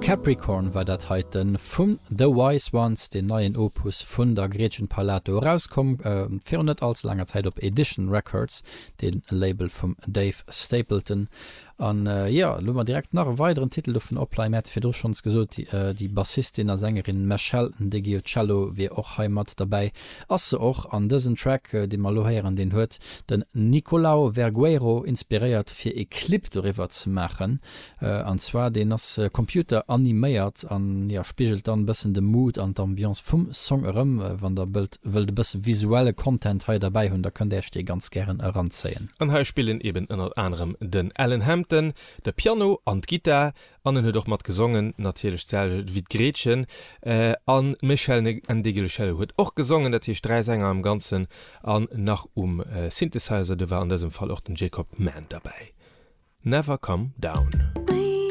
Capricorn war dat heiten vun The Wise Ones, deen neien Opus vun der Gretchen Parlato, erauskomm virun net all ze laanger Zäit op Edition Records, dee Label vum Dave Stapleton. An jo, elo hu mer direkt nach e weideren Titel dovun opleien. Mir hate virdru schonns gesot, déi Bassistin a Sängerin Meshell Ndegeocello wier och hei mat derbäi. Ass se och. An dësen Track, dee mer elo héieren, deen huet den Nicolau Vergueiro inspiréiert, fir e Clip doriwwer ze maachen. An zwar deen ass Computer animéiert an jo spigelt dann bëssen de Mood an d'Ambiance vum Song erëm. Wann der bëllt wëllt e bësse visuelle Content hei derbäi hunn, da kënnt äerch dee ganz gären eranzéien. An hei spillen eben ënnert anerem den Alan Hampton de Piano an d'Gittar an en huet och mat gesongen, natierlech d'selwecht wéi d'Gretchen. An d'Meshell Ndegeocello huet och gesongen, dat heescht 3 Sänger am Ganzen an nach um Synthesizer, do war an dësem Fall och den Jacob Mann derbäi. Never Come Down.